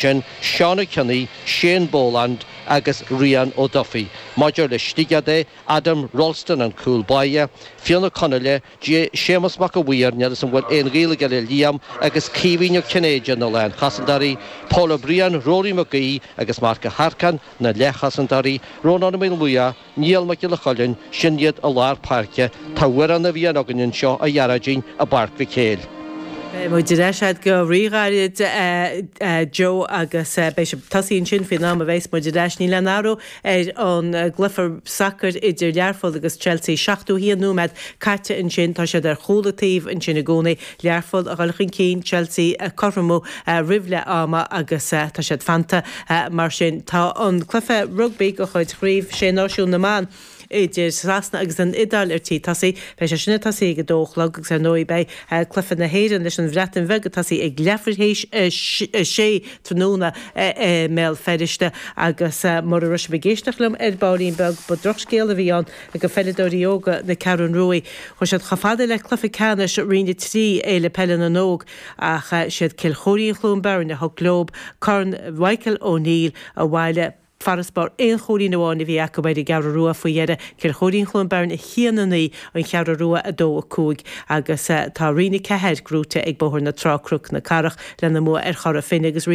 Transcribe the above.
Sin Seán Ó Cionnaith, Shane Boland agus Rian O'Duffy. Maidir le Sligeach de, Adam Ralston an cúl báire, Fionn Ó Conghaile, Séamus Mac a' Mhaoir, níl 'fhios a'm an bhfuil aon ghaol aige le Liam, agus Caoimhín Ó Cinnéide na lánchosantóirí, Paul O'Brien, Rory Mac Aoidh agus Marc Ó hEarcáin na leathchosantóirí, Rónán Ó Maolmhuaidh, Niall Mac Giolla Choilinn, sin iad i lár páirce. Tá amhrán na bhFiann againn anseo, a Ghearóidín, i bPáirc Mhic Éil. Beidh muid ar ais agat go ríghairid, a Joe, agus beidh sibh tosaithe ansin faoin am a bheas muid ar ais. Níl aon athrú ar an gcluiche sacair idir Learpholl agus Chelsea. 71 nóiméad caite ansin. Tá siad ar chúl an taobh ansin i gcónaí. Learpholl a dhul chun cinn, Chelsea ag cothromú roimh leath ama agus tá siad fanta mar sin. Tá an cluiche rugbaí de chuid Chraobh Sé Náisiún na mBan idir Sasana agus an Iodáil ar tí tosaí. Beidh sé sin ag tosaí ag a dó a chlog agus ar ndóigh beidh cluiche na hÉireann leis an Bhreatain Bheag ag tosaí ag leathuair théis a sé tráthnóna i mBéal Feirste agus mura raibh sibh ag éisteacht liom ar baillín beag ba drochscéal a bhí ann do pheileadóirí óga na Ceathrún Ruaidh. Chuaigh siad chomh fada le cluiche ceannais Roinn 3 Fhéile Peile na nÓg Ach siad Cill Chóirín-Chluain Beirn a thug leo Corn Mhichael O'Neill abhaile. Farasbarr aon chúilín amháin a bhí acu ar an gCeathrú Rua faoi dheireadh, Cill Chóirín-Chluain Beirn 1-9, An Cheathrú Rua 2-5 agus tá Roinn 4 gnóite ag Bóthar na Trá-Cnoc na Cathrach lena mbua ar Chora Finne agus Roinn.